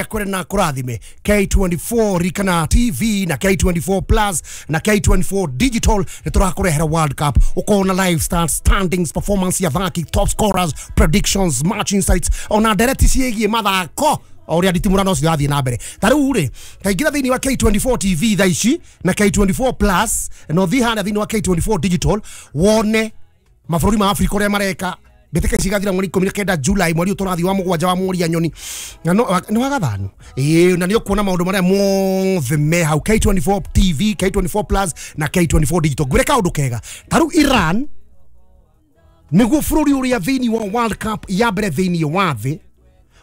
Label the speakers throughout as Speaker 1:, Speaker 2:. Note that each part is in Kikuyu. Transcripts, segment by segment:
Speaker 1: Akwere na kurathime. K24 rikana TV na K24 Plus na K24 Digital nĩ tũrakũrehera World Cup, ũkona live stars, standings, performance ya athaki, top scorers, predictions, match insights, ona ndereti ciĩgiĩ mathako o ũrĩa nditimũrano ũcio ũrathiĩ na mbere. Ta rĩu rĩ, kaingĩra thĩinĩ wa K24 TV thaa ici na K24 Plus, na ũthiĩ harĩa thĩinĩ wa K24 Digital wone mabũrũri ma Afrika ũrĩa mareka. Mbĩtĩka ici igathira mweri 19 July, mweri ũyũ tũrathiĩ wa mũgwanja wa Mũria Nyoni na nĩ wa gathano. Ĩĩ, na nĩ ũkuona maũndũ marĩa mothe me hau K24 TV, K24 Plus na K24 Digital. Ngwĩre kaũndũ kega, ta rĩu Iran nĩguo bũrũri ũrĩa thĩinĩ wa World Cup ya mbere thĩinĩ wa thĩ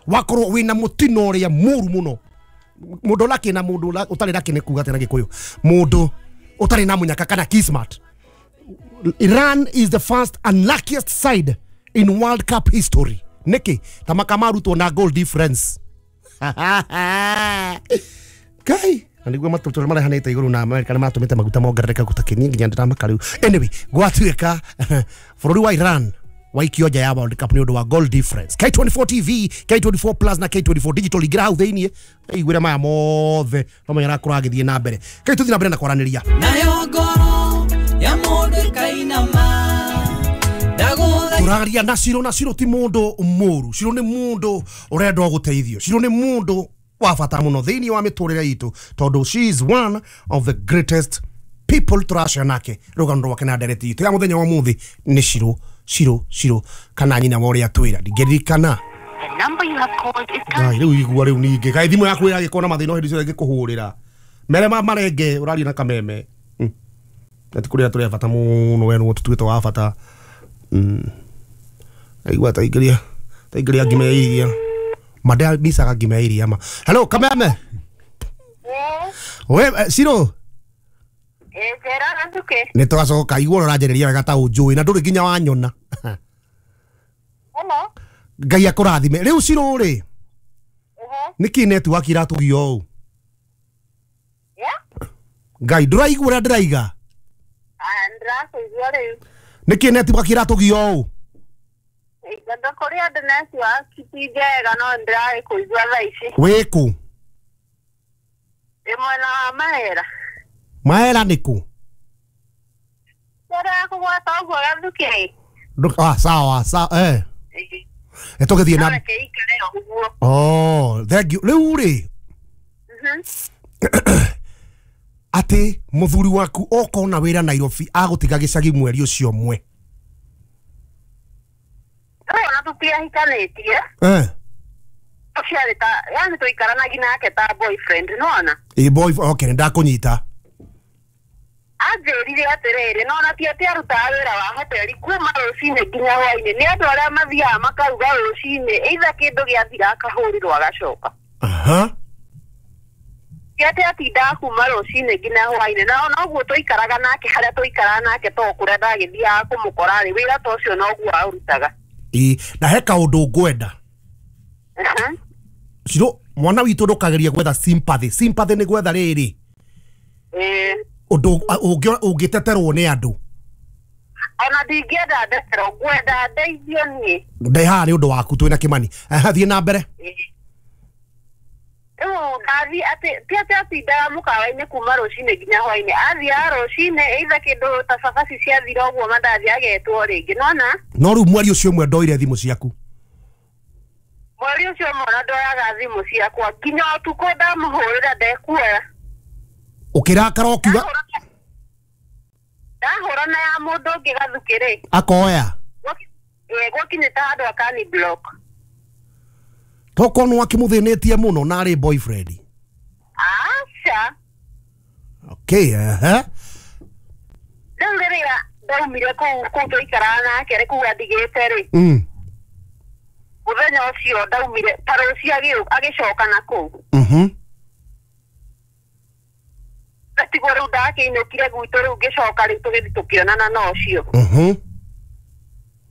Speaker 1: wakorwo wĩna mũtino ũrĩa mũru mũno. Mũndũ lucky na mũndũ ũtarĩ lucky nĩ kuga atĩa na Gĩkũyũ? Mũndũ ũtarĩ na mũnyaka kana kismat. Iran is the first unluckiest side in World Cup history. Niki ta makamarutwo na goal difference. Kai na niguo matũtũ marehanĩte igũrũ na America nĩ matũmĩte maguta mongerereke gũtakĩnie nginya ndĩramaka rĩu. Anyway, gwatuĩka bũrũri wa Iran waikio nja ya World Cup nĩ ũndũ wa goal difference. K24 TV, K24 Plus na K24 Digital, ingĩra hau thĩiniĩ iguĩre maya mothe no menya arakorwo agĩthiĩ na mbere. Kai tũthiĩ na mbere na kwaranĩria.
Speaker 2: Nayo ngoro ya mũndũ ĩkainama.
Speaker 1: Tũraria na Ciro, na Ciro ti mũndũ mũru. Ciro nĩ mũndũ ũrenda gũteithio. Ciro nĩ mũndũ wa bata mũno thĩinĩ wa mĩtũrĩre itũ, tondũ she is one of the greatest people tũracia nake rũgano rwake na ndereti itũ ya mũthenya wa ũmũthĩ nĩ Ciro, Ciro, Ciro kana nyina wa ũrĩa twĩra ndingĩririkana.
Speaker 3: The number you have called is
Speaker 1: Ngai, rĩu igua rĩu ningĩ kaĩ thimũ yaku ĩragĩkorwo na mathĩna o hĩndĩ ciothe ĩngĩkũhũrĩra mere ma marenge ũraria na kameme. Na ti kũrĩa tũrĩ a bata mũno, we nĩwe tũtuĩte wa bata. Aigua taingĩria taingĩria ngima ya iria madea misaga ngima ya iria ma. Hello kameme. We Ciro.
Speaker 3: Njĩra Gathuke.
Speaker 1: Nĩ twacoka igua ũranjĩrĩria wega ta ũnjũĩ na ndũrĩ nginya wanyona.
Speaker 3: Hello.
Speaker 1: Ngai akũrathime. Rĩu Ciro rĩ, nĩkĩ network iratũgia ũũ? Ngai ndũraigua ũrĩa ndĩraiga?
Speaker 3: Ndĩrakũigua rĩu.
Speaker 1: Nĩkĩ network iratũgia ũũ?
Speaker 3: Ngendo kũrĩa ndĩ network ti njega no ndĩragĩkũigua thaa ici.
Speaker 1: Wĩkũ?
Speaker 3: Ndĩ mwena wa Mahera.
Speaker 1: Mahera nĩ kũ?
Speaker 3: Kũrĩa kũgwata ũguo Gathuke.
Speaker 1: Sawa sawa, eh. Tũgĩthiĩ na
Speaker 3: Reke ikare ũguo.
Speaker 1: Oh, thank you. Rĩu rĩ, atĩ mũthuri waku okona wĩra Nairobi agũtiga gĩcagi mweri ũcio ũmwe.
Speaker 3: Ona tũtiahikanĩtie. Ũcio arĩ ta, yani tũikaranagia nake ta boyfriend, nĩwona?
Speaker 1: Ĩ boy, okay, nĩndakũnyita.
Speaker 3: Anjĩrire atĩrĩrĩ, nona ti atĩ arutaga wĩra wa hoteli kuma rũcinĩ nginya hwainĩ, nĩ andũ arĩa mathiaga makaruga rũcinĩ, either kĩndũ gĩathira akahũrĩrwo agacoka.
Speaker 1: Aha.
Speaker 3: Ti atĩ atindaga kuma rũcinĩ nginya hwainĩ, na noguo tũikaraga nake harĩa tũikaraga nake to kũrĩa ndagĩthiaga kũmũkora rĩ, wĩra ta ũcio noguo aũrutaga.
Speaker 1: Ĩ, na he kaũndũ ngwenda. Ciro, mwana witũ ndũkagerie gwetha sympathy. Sympathy nĩ gwetha rĩrĩ. Ũndũ ũngĩteterwo nĩ andũ.
Speaker 3: Ona ndingĩenda ndeterwo, ngwenda ndeithio niĩ.
Speaker 1: Ndĩ haha nĩ ũndũ waku twĩna Kĩmani. Thiĩ na mbere.
Speaker 3: Rĩu ndathiĩ atĩ ti atĩ atindaga mũkawa-inĩ kuma rũcinĩ nginya hwainĩ, athiaga rũcinĩ either kĩndũ ta cabaci ciathira ũguo mandathi agetwo rĩngĩ, nĩwona?
Speaker 1: No rĩu mweri ũcio ũmwe ndoire thimũ ciaku.
Speaker 3: Mweri ũcio ũmwe ona ndoyaga thimũ ciakwa nginya ũtukũ ndamũhũrĩra ndekuoya.
Speaker 1: Ũkĩrakara ũkiuga
Speaker 3: Ndahũra na ya mũndũ ũngĩ Gathukĩ rĩ.
Speaker 1: Akoya.
Speaker 3: Gwakinyĩte handũ akani block.
Speaker 1: Tokorwo nĩ wakĩmũthĩnĩtie mũno na arĩ boyfriend.
Speaker 3: Aca.
Speaker 1: Okay, ehe.
Speaker 3: Rĩu rĩrĩa ndaumire kũu tũikaraga nake rĩ, kũu andigĩte rĩ. Mũthenya ũcio ndaumire ta rũciũ agĩcoka na kũu. Tigwo rĩu ndakĩinũkire gwitũ rĩu ngĩcoka rĩu tũgĩthiĩ tũkĩonana na ũcio.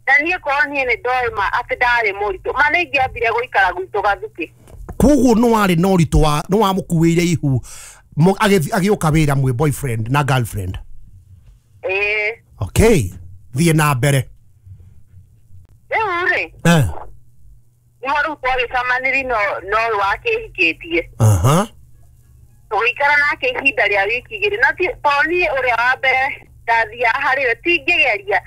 Speaker 3: Na niĩ korwo niĩ nĩ ndoĩ ma atĩ ndarĩ mũritũ, ma nĩ ingĩambire gũikara gwitũ Gathukĩ.
Speaker 1: Koguo nĩ warĩ na ũritũ wa nĩ wamũkuĩire ihu agĩũka wĩra mwĩ boyfriend na girlfriend.
Speaker 3: Ĩĩ.
Speaker 1: Okay, thiĩ na mbere.
Speaker 3: Rĩu rĩ, Nĩho rĩu twagĩcemanirie no ũyũ wakĩhikĩtie.
Speaker 1: Aha.
Speaker 3: Tũgĩikara nake ihinda rĩa wiki igĩrĩ na to niĩ ũrĩa wa mbere ndathiaga harĩ we tingĩgeria.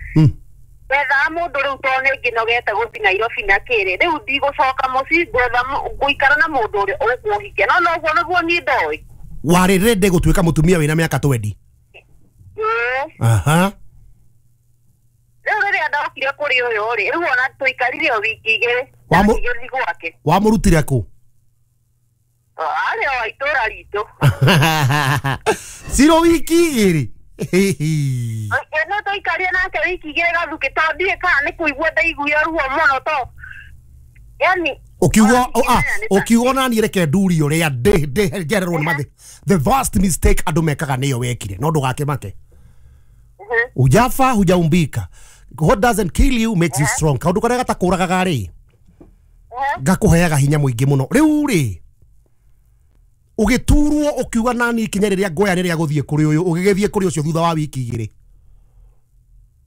Speaker 3: Wethaga mũndũ rĩu to nĩ ngĩnogete gũthiĩ Nairobi na kĩrĩ rĩu ndigũcoka mũciĩ ngwetha ngũikara na mũndũ ũrĩa ũkũhikia no noguo nĩguo niĩ ndoĩ.
Speaker 1: Warĩ ready gũtuĩka mũtumia wĩna mĩaka 20? Aha.
Speaker 3: Rĩu rĩrĩa ndokire kũrĩ ũyũ rĩ rĩu ona tũikarire o wiki igĩrĩ ngĩthiĩ gwake.
Speaker 1: Wamũrutire kũ?
Speaker 3: Arĩ o itũra ritũ.
Speaker 1: Ciro wiki igĩrĩ?
Speaker 3: No tũikarire nake wiki igĩrĩ gathukĩ to ndiũĩ kana nĩ kũigua ndaiguire ruo mũno to yani
Speaker 1: ukiuga ukiuga nani reke nduri uria ndi njererwo ni mathi the vast mistake andu mekaga niyo wekire no ndugakimake. Hujafa hujaumbika. What doesn't kill you makes you strong. Kaundu karia gatakũragaga rĩ gakuheaga hinya mũingĩ mũno. Rĩu rĩ ũgĩturwo ũkiuga nani ikinya rĩrĩa ngoya rĩrĩa gũthiĩ kũrĩ ũyũ ũgĩgĩthiĩ kũrĩ ũcio thutha wa wiki igĩrĩ.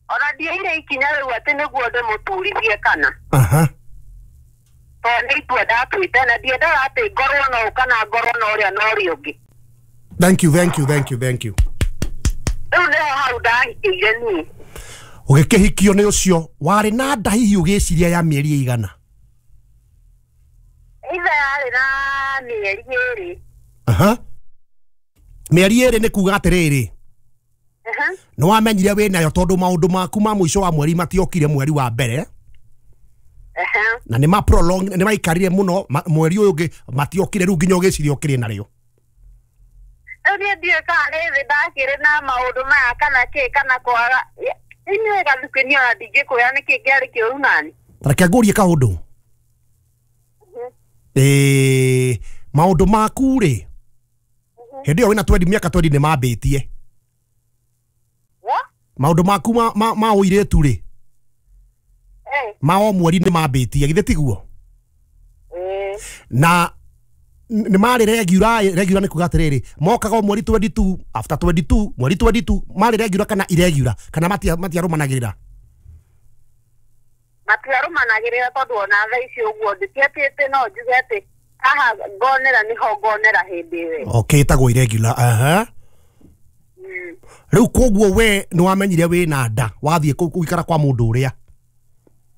Speaker 3: Ona ndioire ikinya rĩu atĩ nĩguo ndĩmũturithie kana.
Speaker 1: Aha.
Speaker 3: Tondũ nĩ itua ndatuĩte na ndiendaga atĩ ngorwo no kana ngorwo na ũrĩa na ũrĩa ũngĩ.
Speaker 1: Thank you, thank you, thank you, thank you.
Speaker 3: Rĩu nĩho hau ndahikĩire niĩ.
Speaker 1: Ũgĩkĩhikio nĩ ũcio warĩ na nda hihi ũgĩciria ya mĩeri ĩigana?
Speaker 3: Ithe yarĩ na mĩeri ĩrĩ.
Speaker 1: Aha. Mĩeri ĩrĩ nĩ kuga atĩrĩrĩ, nĩ wamenyire wĩ nayo tondũ maũndũ maku ma mũico wa mweri matiokire mweri wa mbere. Na nĩ ma prolong nĩ maikarire mũno mweri ũyũ ũngĩ matiokire rĩu nginya ũgĩciria ũkĩrĩ narĩo.
Speaker 3: Rĩu niĩ ndiũĩ kana nĩ thĩ ndakĩrĩ na maũndũ maya kana kĩ kana kwaga inyuĩ gathukĩ niĩ ona ndingĩkwĩra nĩkĩ kĩarĩ kĩũru nani.
Speaker 1: Reke ngũrie kaũndũ. Maũndũ maku rĩ hĩndĩ ĩyo wĩna 20 mĩaka 20 nĩ mambĩtie. Maũndũ maku ma ũirĩtu rĩ ma o mweri nĩ mambĩtie githĩ tiguo? Na nĩ marĩ regular regular nĩ kuga atĩrĩrĩ mokaga o mweri 22 after 22 mweri 22 marĩ regular kana irregular kana matiarũmanagĩrĩra?
Speaker 3: Matiarũmanagĩrĩra tondũ ona thaa ici ũguo nditiatĩte no njuge atĩ haha ngonera nĩho ngonera hĩndĩ ĩyo.
Speaker 1: Okay, ĩtagwo irregular. Aha. Rĩu koguo we nĩ wamenyire wĩna nda wathiĩ gũikara kwa mũndũ ũrĩa?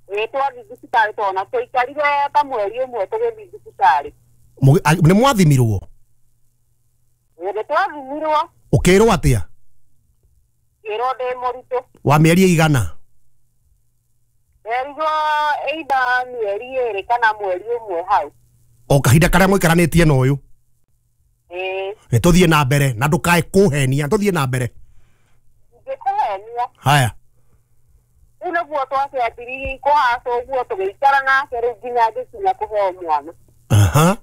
Speaker 3: Ĩĩ twathiĩ thibitarĩ tona tũikarire ta mweri ũmwe tũgĩthiĩ thibitarĩ.
Speaker 1: Nĩ mwathimirwo?
Speaker 3: Ĩĩ twathimirwo.
Speaker 1: Ũkĩrwo atĩa?
Speaker 3: Ngĩrwo ndĩ mũritũ.
Speaker 1: Wa mĩeri ĩigana?
Speaker 3: Nderirwo either mĩeri ĩrĩ kana mweri ũmwe hau.
Speaker 1: O kahinda karĩa mũikaranĩtie na ũyũ?
Speaker 3: Ĩĩ.
Speaker 1: Nĩ tũthiĩ na mbere na ndũkae kũhenia, tũthiĩ na mbere.
Speaker 3: Ndingĩkũhenia.
Speaker 1: Haya.
Speaker 3: Rĩu nĩguo twakĩambĩrĩirie kũhaca ũguo tũgĩikara nake rĩu nginya ngĩkinya kũheo mwana.
Speaker 1: Aha.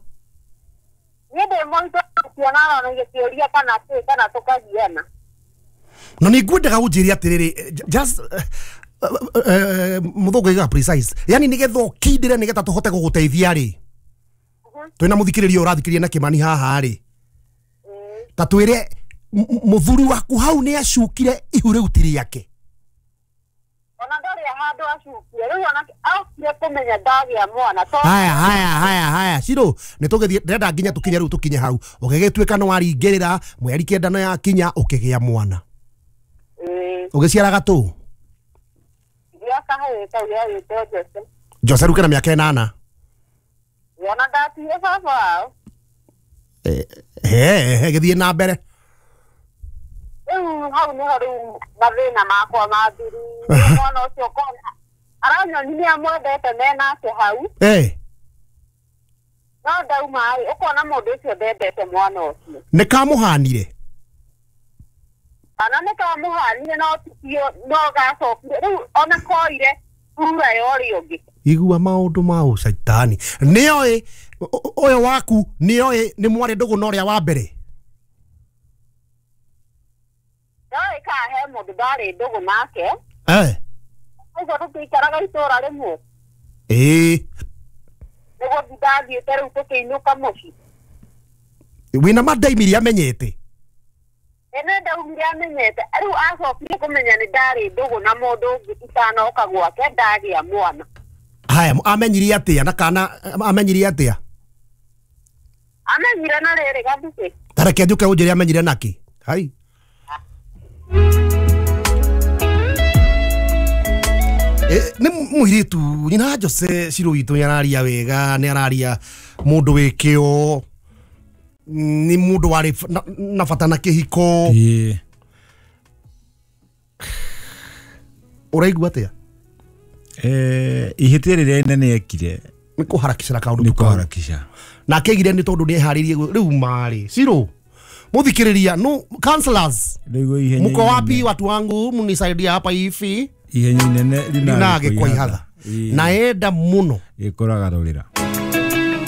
Speaker 3: Niĩ ndĩ mũritũ kĩonana na gĩkĩũria kana kĩ kana tũkagiana.
Speaker 1: Na nĩ ngwendaga ũnjĩre atĩrĩrĩ just mũthũngũ aigaga precise yani nĩgetha ũkindĩre nĩgetha tũhote gũgũteithia rĩ twĩna mũthikĩrĩria ũrathikĩrĩria na Kĩmani haha rĩ ta twĩre mũthuri waku hau nĩ acukire ihu rĩu ti rĩake.
Speaker 3: Ona ndarĩ handũ acukire rĩu ona aokire kũmenya ndagĩa mwana to.
Speaker 1: Haya haya haya haya Ciro nĩ tũgĩthiĩ ndĩrenda nginya tũkinye rĩu tũkinye hau ũgĩgĩtuĩka nĩ waringĩrĩra mweri kenda no yakinya ũkĩgĩa mwana. Ũgĩciara gatũ?
Speaker 3: Gĩa kahĩĩ kau gagĩtwo Jose.
Speaker 1: Jose rĩu kena mĩaka ĩnana?
Speaker 3: Ona ndatigire baba wao.
Speaker 1: He gĩthiĩ na mbere.
Speaker 3: Rĩu hau nĩho rĩu mathĩna makwa mathirire. Mwana ũcio kona aranyoni nĩ amwendete menake hau. No ndauma rĩ ũkona mũndũ ũcio ndendete mwana ũcio.
Speaker 1: Nĩ kamũhanire?
Speaker 3: Kana nĩ kamũhanire no tikio no gacokire rĩu ona koire rura ya ũrĩa ũngĩ.
Speaker 1: Igua maũndũ ma ũcaitani. Nĩoĩ ũyũ waku nĩoĩ nĩ mwarĩ ndũgũ na ũrĩa wa mbere?
Speaker 3: Ndoĩ kana he mũndũ ndarĩ ndũgũ nake. Ũguo tũtiikaraga itũra rĩmwe.
Speaker 1: Ĩĩ.
Speaker 3: Nĩguo ndathiĩte rĩu tũkĩinũka mũciĩ.
Speaker 1: Wĩna ma ndaimirie amenyete?
Speaker 3: Ĩĩ ndaumire amenyete. Rĩu acokire kũmenya nĩ ndarĩ ndũgũ na mũndũ ũngĩ itanoka gwake ndagĩa mwana.
Speaker 1: Haya, amenyirie atia na kana amenyirie atia?
Speaker 3: Amenyire na rĩrĩ gathukĩ.
Speaker 1: Tareke njuke unjire amenyire naki. Hai. Nĩ mũirĩtu nyina Jose Ciro witũ nĩ araria wega, nĩ araria mũndũ wĩ kĩo, nĩ mũndũ warĩ na bata na kĩhiko.
Speaker 4: Ĩĩ.
Speaker 1: Ũraigua atĩa?
Speaker 4: Ihĩtia rĩrĩa inene ekire
Speaker 1: nĩ kũharakicĩra kaũndũ
Speaker 4: nĩ
Speaker 1: tu kau.
Speaker 4: kũharakisha.
Speaker 1: Na akĩgire nĩ tondũ nĩ eharĩirie rĩu marĩ Ciro mũthikĩrĩria no counselors
Speaker 4: Rĩu ihenya
Speaker 1: mko wapi
Speaker 4: inene-
Speaker 1: watu wangu mnisaidia hapa hivi
Speaker 4: ihenya inene
Speaker 1: linage kwa ihatha
Speaker 4: Ĩĩ.
Speaker 1: naenda mũno
Speaker 4: Gĩkoraga rũrĩra.